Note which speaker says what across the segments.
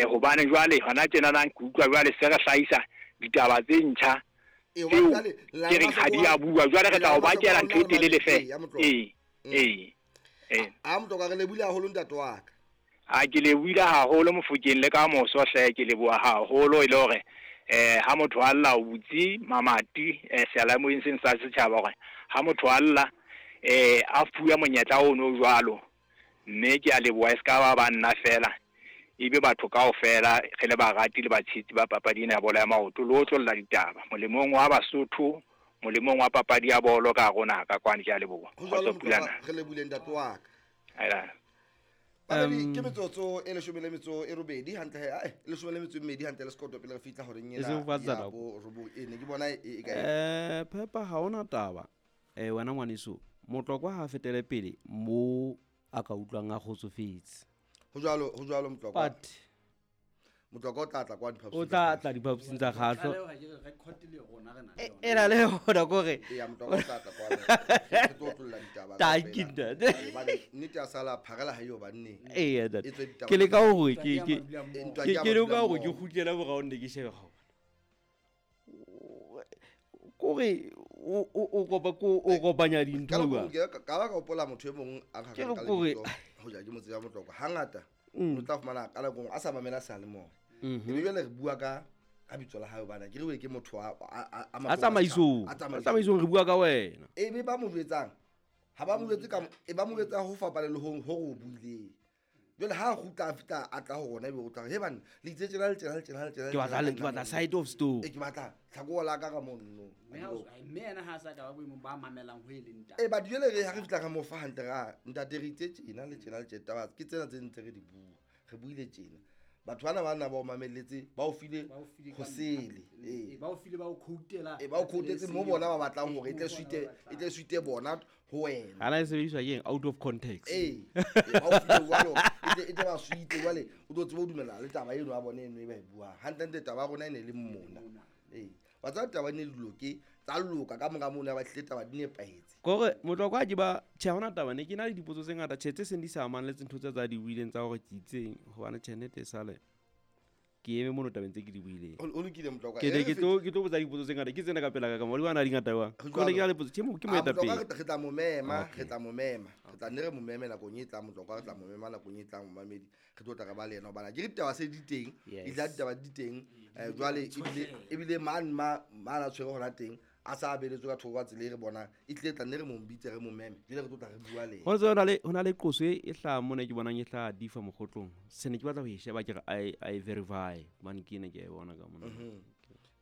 Speaker 1: Hobane jwale hona tjenana ke utlwa jwale se re hlahisa ditaba tse ntjha
Speaker 2: Ee,
Speaker 1: tseo
Speaker 2: hobane jwale
Speaker 1: ke reng ha di a bua. Jwale re tla o bakela ntho e telele
Speaker 2: Ee, ya
Speaker 1: feela.
Speaker 2: Motlokwa.
Speaker 1: Ee, ee, ee.
Speaker 2: A Motlokwa, re lebohile haholo, ntate wa ka.
Speaker 1: A ke lebohile haholo, Mofokeng, le ka moso hle, ke leboha haholo e le hore ha motho a lla o butse mamati seyalemoyeng seng sa setjhaba, hore ha motho a lla a fuwe monyetla ono jwalo, mme ke a leboha. E se ka ba ba nna fela, ebe batho kaofela re le barati le batshehetsi ba papadi ena ya bolo ya maoto, le otlolla ditaba molemong wa Basotho, molemong wa papadi ya bolo ka hare ho naha ka kwano. Ke a leboha.
Speaker 2: Ho jwalo.
Speaker 1: Kgotso.
Speaker 2: Motlokwa.
Speaker 1: Pulana.
Speaker 2: Re lebohile, ntate wa ka.
Speaker 1: Aela.
Speaker 2: Mamedi, ke metsotso e 18 hantle he, ae, e 12 hantle le sekoto pele re fihla horeng
Speaker 3: E seng
Speaker 2: ena
Speaker 3: ho fatshe
Speaker 2: ya
Speaker 3: nako.
Speaker 2: bo robong. E ne ke bona e ka
Speaker 3: Phepa, ha ona taba. Wena ngwaneso Motlokwa, ha a fetele pele mo a ka utlwang a kgotsofetse.
Speaker 2: Ho jwalo, ho jwalo, Motlokwa.
Speaker 3: But
Speaker 2: Motlokwa o tla tla kwa diphaposing
Speaker 3: o
Speaker 2: tsa
Speaker 3: tla
Speaker 2: kgahlo.
Speaker 3: tla diphaposing tsa kgahlo.
Speaker 4: Tlaleho ha ke re record le rona re na le yona.
Speaker 3: E na le yona kore.
Speaker 2: Eya, Motlokwa o tla tla kwano, re tlo otlolla ditaba
Speaker 3: Tanki,
Speaker 2: kaofela.
Speaker 3: ntate.
Speaker 2: Ee, hobane nnete ya sala pharela ha eo banneng.
Speaker 3: Eya, ntate.
Speaker 2: E tswe ditaba.
Speaker 3: Ke leka hore
Speaker 4: Ntwa
Speaker 3: ke
Speaker 4: ke ya
Speaker 3: ke
Speaker 4: madula mmoho.
Speaker 2: Ntwa
Speaker 3: ke
Speaker 2: ke ya
Speaker 3: ke leka
Speaker 2: madula
Speaker 3: hore ke
Speaker 2: mmoho.
Speaker 3: kgutlele morao, nne ke shebe gaona kore o kopa ko o kopanya
Speaker 2: Ka
Speaker 3: dintho
Speaker 2: nako
Speaker 3: jwang.
Speaker 2: nngwe ka ba ka hopola motho e mong a
Speaker 3: Ke
Speaker 2: nkgakang
Speaker 3: re
Speaker 2: ka
Speaker 3: kore-
Speaker 2: lebitso, hoja ke mo tseba Motlokwa, hangata o tla fumana ka nako e nngwe a sa mamela seyalemoya, ebe jwale re bua ka bitso la hae, hobane ke re we ke motho a
Speaker 3: A
Speaker 2: mahlong a
Speaker 3: tsamaisong.
Speaker 2: setjhaba, a
Speaker 3: A
Speaker 2: tsamaisong.
Speaker 3: tsamaisong, re bua ka wena.
Speaker 2: E be ba mo jwetsang, ha ba mo jwetse ka e ba mo jwetsa ho fapana le ho re o buileng. Jwale ha a kgutla, a fihla, a tla ho rona, ebe o tla re, "He banna, le itse tjena le tjena le tjena le tjena le
Speaker 3: Ke batla
Speaker 2: tjena."
Speaker 3: ke batla side of story.
Speaker 2: E, ke batla tlhako la ka monno.
Speaker 4: Mme yena ha a sa ka ba boemong ba mamelang ho e leng taba.
Speaker 2: E, but jwale re ha re fihla, re mo fa hantle, ra ntate, re itse tjena le tjena le tjena, taba ke tsena tse ntse re di bua, re buile tjena, batho bana ba na ba o mamelletse, ba o file
Speaker 4: Ba o file
Speaker 2: ho sele.
Speaker 4: Ee,
Speaker 2: Ee.
Speaker 4: ba o file, ba o quotela.
Speaker 2: E, ba o quotetse mo bona ba batlang hore e tle
Speaker 4: Ee, mo bona
Speaker 2: suite
Speaker 4: ba
Speaker 2: e
Speaker 4: batlang.
Speaker 2: tle suite bona ho wena.
Speaker 3: Ana e sebediswa ke eng out of context?
Speaker 2: Ee, ee, ba o file jwalo, e tle ba suite. Jwale o tlo tsebe ho dumellana le taba eno ya bona eno e ba e buang. Hantlentle taba ya rona e ne le mona. Ee, wa tseba, taba di ne di loke, tsa loka ka mora mono, ya ba tlile taba di nepahetse.
Speaker 3: Kore Motlokwa ha ke ba tjhe, ha hona taba, ne ke na le dipotso tse ngata, tjhe, tse seng di sa amang le tse ntho tse tsa di buileng tsa hore ke itseng, hobane tjhe, nnete e sale ke eme mono tabeng tse ke di buileng.
Speaker 2: Ho lokile, Motlokwa.
Speaker 3: Ke
Speaker 2: E
Speaker 3: ne
Speaker 2: re
Speaker 3: ke tlo botsa dipotso tse ngata, ke tsena ka pela ka ka mo di bana di ngata jwang.
Speaker 2: Ho
Speaker 3: Ke ne ke
Speaker 2: jwalo.
Speaker 3: na le potso, tjhe, ke
Speaker 2: Ah,
Speaker 3: moetapele.
Speaker 2: Motlokwa, re tla mo mema.
Speaker 3: Okay.
Speaker 2: Re tla mo mema, re tla nne re mo meme nakong e tlang. Motlokwa re tla mo mema nakong e tlang, momamedi, re tlo tla re ba le yena, hobane ke ditaba se di teng. Ebile ha ditaba di teng, jwale ebile mane ma na tshwere hona teng, a sa beletswe ka thoko ka tsela e re bonang e tlile, tla nne re mo bitse, re mo meme, jwale re tlo tla re bua le yena.
Speaker 3: Ho ntse ho na le qoso e hlahang mona, ke bonang e hlaha difa mokgotlong, se ne ke batla ho e sheba, ke re a e verify, hobane ke ene ke a e bona ka mona.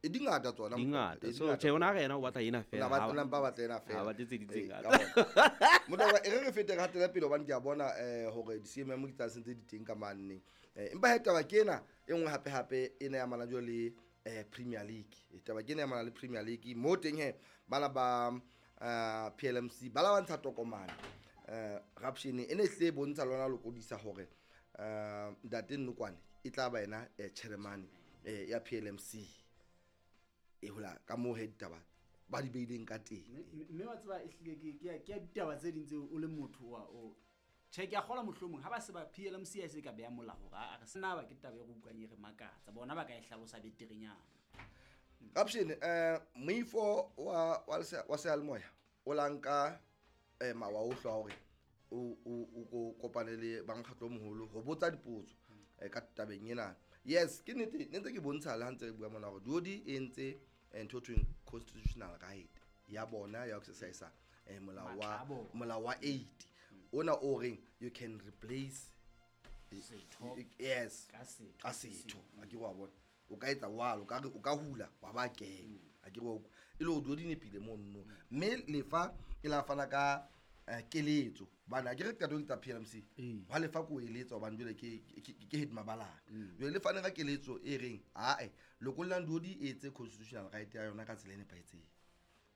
Speaker 2: E di ngata tsona,
Speaker 3: Di
Speaker 2: Motlokwa,
Speaker 3: ngata.
Speaker 2: e di
Speaker 3: So
Speaker 2: ngata
Speaker 3: tjhe, ona
Speaker 2: tsona.
Speaker 3: re yena o batla ena fela.
Speaker 2: O na mpa batla ena fela.
Speaker 3: Ha batle tse ding tse
Speaker 2: Ee,
Speaker 3: ngata.
Speaker 2: ka bona. Motlokwa, e re re fete, re hatele pele, hobane ke a bona hore di-CMM ke tsa sentse di teng ka manne. Empa he, taba ke ena e nngwe hape hape ena ya amana jwale le Premier League. Taba ke ena ya amana le Premier League mo teng he, bana ba PLMC ba la ba ntsha tokomane raption e ne e hlile e bontsha lona lokodisa hore ntate Nnokwane e tla ba yena chairman ya PLMC, e hola ka moo he ditaba ba di beileng ka teng.
Speaker 4: Mme wa tseba, ehlile ke ya ditaba tse ding tseo o le motho wa o tjhe, ke a kgolwa mohlomong ha ba se ba PLMC a se ka beha molao hore a re sena ba ke taba e re utlwang e re makatsa, bona ba ka e hlalosa beterenyana.
Speaker 2: Raption, moifo wa seyalemoya o la nka mawa ohle wa hore o ko kopane le ba mokgatlo o moholo ho botsa dipotso ka tabeng ena. Yes, ke nnete, ne ntse ke bontsha le ha ntse re bua mona hore Duodi e entse ntho e thweng constitutional right ya bona ya ho exercise molao
Speaker 4: Matla
Speaker 2: wa
Speaker 4: a bona.
Speaker 2: Molao wa 8 ona o reng you can replace
Speaker 4: Setho
Speaker 2: yes
Speaker 4: ka setho
Speaker 2: ka setho, a ke wa bona, o ka etsa walo, o ka re o ka hula wa ba kena, a ke wa utlwa e le hore dio di nepile mono, mme lefa e la fana ka keletso, hobane ha ke re qeto ke tsa PLMC.
Speaker 4: Ee.
Speaker 2: Hwa lefa ko eletsa, hobane jwale ke head mabalane, jwale le fane ka keletso e reng ae, lokollang dio di etse constitutional right ya yona ka tsela e nepahetseng,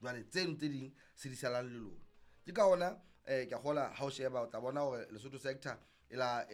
Speaker 2: jwale tseno tse ding se di salang le lona. Ke ka ona ke a kgola ha o sheba, o tla bona hore Lesotho sector e la